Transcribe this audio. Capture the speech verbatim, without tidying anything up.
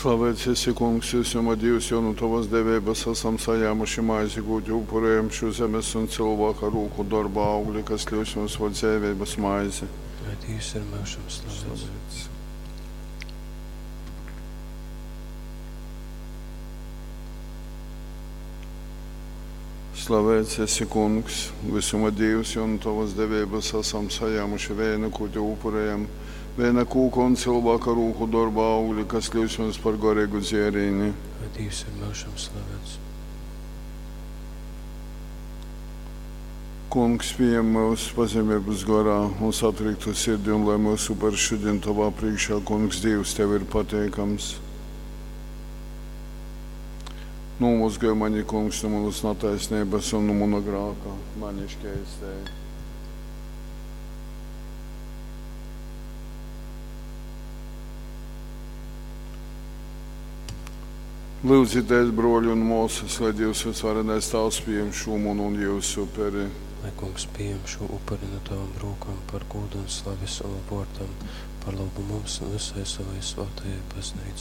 Slavēts esi, Kungs, visuma Dīvs, jo nu tovas deveibas asam sajāmuši maizi, kū tev upurējam, šū zemes un cylvāka rūku dorba augli, kas kļūst mums par dzeiveibas maizi. Lai Dīvs ir myužam slavēts. Slavēts. Slavēts esi, Kungs, visuma Dīvs, jo nu tovas deveibas asam sajāmuši veinu, kū tev upurējam, veina kūka un cylvāka rūku dorba augli, kas kļūst mums par garīgu dzērīni. Lai Dīvs ir myužam slavēts. Kungs, pieņem mūs pazemības garā un satriktu sirdi, un lai mūsu upurs šodien tavā priekšā, Kungs, Dievs, tev ir pateikams. Nomazgāj mani, Kungs, no manas netaisnības un no mana grāka, mani šķēstēji. Lūdzieties, broļi un māsas, lai Dievs visvarenais Tēvs pieņem šo manu un jūsu uperi. Lai Kungs pieņem šo upuri no tavām rokām par godu un slavi savam vārdam, par labu mums un visai savai svētajai baznīcai.